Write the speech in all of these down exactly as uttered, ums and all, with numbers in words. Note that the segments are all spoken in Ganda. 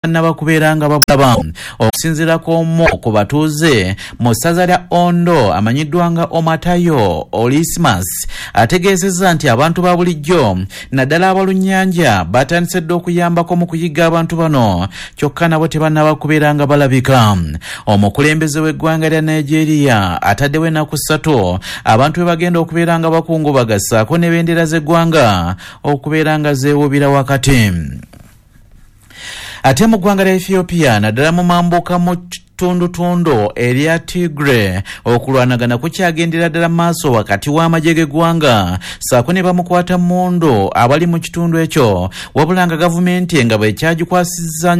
Tebannabakubeera nga babulaba. Okusinziira ku omu ku batuuze mu ssaza lya Ondo amanyiddwa nga Omatayo Olismas, ategeezezza nti abantu ba bulijjo naddala abalunnyanja batandise dda okuyambako mu kuyigga abantu bano, kyokka nabo tebannaba kubeera nga balabika. Omukulembeze w'eggwanga lya Nigeria ataddewo ennaku ssatu abantu bwe bagenda okubeera nga bakungubaga, ssaako n'ebendera z'eggwanga okubeera nga zeewuubira wakati. Ate mu ggwanga lya Ethiopia, naddala mu mambuka mu ttundutundu erya Tigre, okulwanagana kukyagendera ddala maaso wakati w'amagye g'eggwanga ssaako ne bamukwata mmundu abali mu kitundu ekyo, wabula nga gavumenti nga bwekyagikwasizza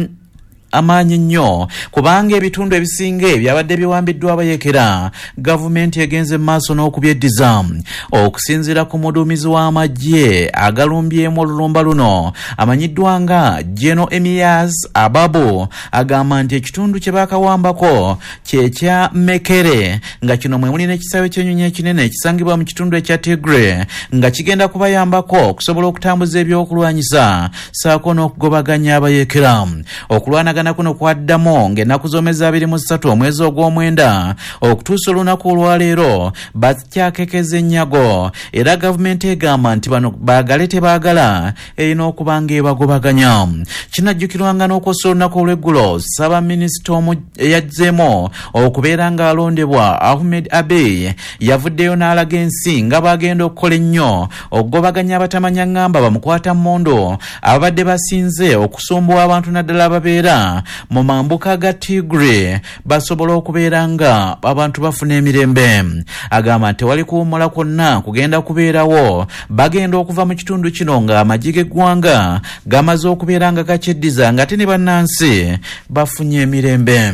amaanyi nnyo, kubanga ebitundu ebisinga ebyabadde biwambiddwa abayekera gavumenti egenze mu maaso n'okubyeddiza. Okusinziira ku muduumizi w'amagye agalumbyemu olulumba luno amanyiddwa nga General Emias Ababu, agamba nti ekitundu kye baakawambako kyekya Mekere, nga kino mwe muli n'ekisaawe ky'ennyonyi ekinene ekisangibwa mu kitundu ekya Tigre, nga kigenda kubayambako okusobola okutambuza ebyokulwanyisa ssaako n'okugobaganya abayekera. Okulwanagana kuno kwaddamu ng'ennaku z'omwezi abiri mu ssatu omwezi ogw'omwenda. Okutuusa olunaku olwaleero bakyakekeza ennyago, era gavumenti egamba nti bano baagale tebaagala erina okuba ng'ebagobaganya. Kinajjukirwanga n'okwosa olunaku olw'eggulo, ssaabaminisita eyazzeemu okubeera ng'alondebwa Ahmed Abiy yavuddeyo n'alaga ensi nga bw'agenda okukola ennyo okugobaganya abatamanya ŋŋamba bamukwata mmundu ababadde basinze okusumbuwa abantu, naddala ababeera mu mambuka ga Tigre, basobole okubeera nga abantu bafuna emirembe. Agamba nti tewali kuwummula kwonna kugenda kubeerawo, bagenda okuva mu kitundu kino ng'amagye g'eggwanga gamaze okubeera nga gakyeddiza, ng'ate ne bannansi bafunye emirembe.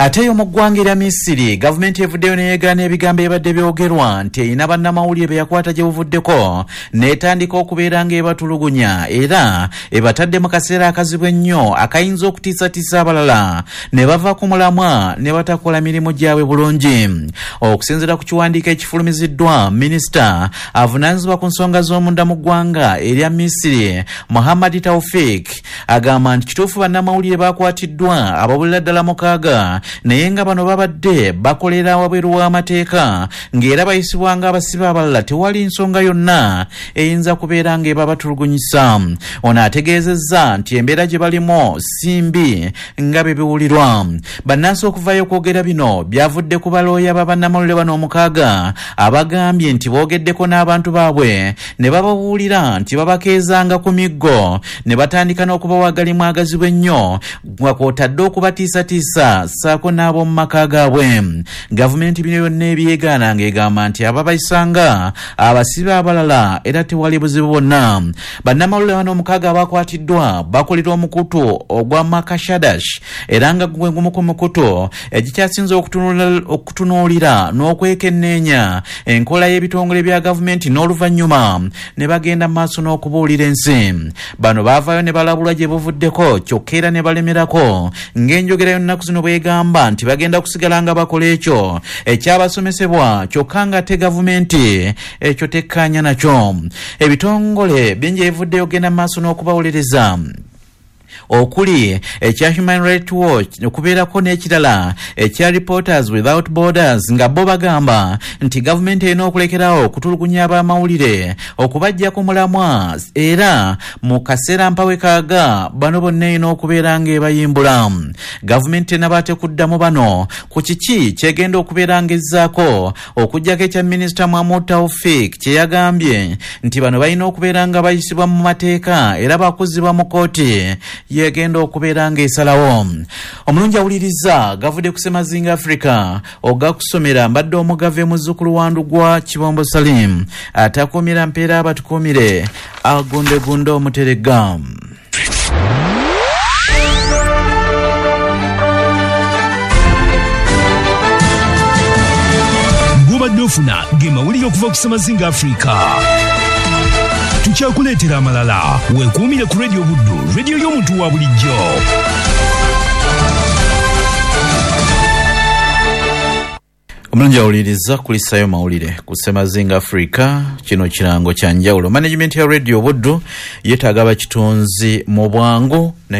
Ate eyo mu ggwanga erya Misiri, gavumenti evuddeyo neyeegaana ebigambo ebibadde byogerwa nti erina bannamawulire be yakwata gye buvuddeko n'etandika okubeera ng'ebatulugunya, era ebatadde mu kaseera akazibu ennyo akayinza okutiisatiisa abalala ne bava ku mulamwa ne batakola mirimu gyabwe bulungi. Okusinziira ku kiwandiiko ekifulumiziddwa minisita avunaanyizibwa ku nsonga z'omunda mu ggwanga erya Misiri, Muhammad Taufik, agamba nti kituufu bannamawulire bakwatiddwa abawulira ddala mukaaga, naye nga bano babadde bakolera wabweru w'amateeka ng'era bayisibwa ng'abasibe abalala, tewali nsonga yonna eyinza kubeera ng'ebabatulugunyisa. Ono ategeezezza nti embeera gye balimu si mbi nga bwe biwulirwa. Bannansi okuvayo okwogera bino byavudde ku balooya ba bannamawulire bano omukaaga abagambye nti boogeddeko n'abantu baabwe ne bababuulira nti babakeezanga ku miggo ne batandika n'okubawa agalimu agazibu ennyo, nga kw'otadde okubatiisatiisa ssaako n'ab'omu maka gaabwe. Gavumenti bino byonna ebyegaana ng'egamba nti ababayisanga abasibe abalala era tewali buzibu bwonna. Bannamawulire bano omukaaga abakwatiddwa bakolera omukutu ogwa Makashadash, era nga gwe gumu ku mukutu egikyasinze okutunuulira n'okwekenneenya enkola y'ebitongole bya gavumenti n'oluvannyuma ne bagenda mu maaso n'okubuulira ensi. Bano baavaayo ne balabulwa gye buvuddeko, kyokka era ne balemerako ng'enjogera y'ennaku zino bwegamba nti bagenda kusigala nga bakola ekyo ekyabasomesebwa, kyokka nga te gavumenti ekyo tekkaanya nakyo. Ebitongole bingi ebivuddeyo genda mu maaso n'okubawolereza, okuli ekya Human Rights Watch, okubeerako n'ekirala ekya Reporters Without Borders, nga bo bagamba nti gavumenti erina okulekerawo okutulugunya abamawulire okubajja ku mulamwa, era mu kaseera mpawe kaaga bano bonna erina okubeera ng'ebayimbula. Gavumenti tenabaate kuddamu bano ku kiki kyegenda okubeera ng'ezzaako, okuggyako ekya minisita Mahmud Taufik kye yagambye nti bano balina okubeera nga bayisibwa mu mateeka era bakuzibwa mu kooti yegenda okubeera ng'esalawo. Omulungi awuliriza, gavudde ku Semazinga Africa, ogakusomera mbadde omugave muzzukulu wa Ndugwa Kibombo Salim, atakuumira mpeera abatukuumire agundegunde omuteregga. Gw'obadde ofuna ge mawulire okuva ku Semazinga Africa. Tukyakuleetera amalala. Weekuumire ku Radio Buddu, rediyo y'omuntu wa bulijjo. Omulungi awuliriza, kulisayo mawulire ku Semazinga Africa. Kino kirango kya njawulo. Management ya Radio Buddu yeetaaga abakitunzi mu bwangu naye.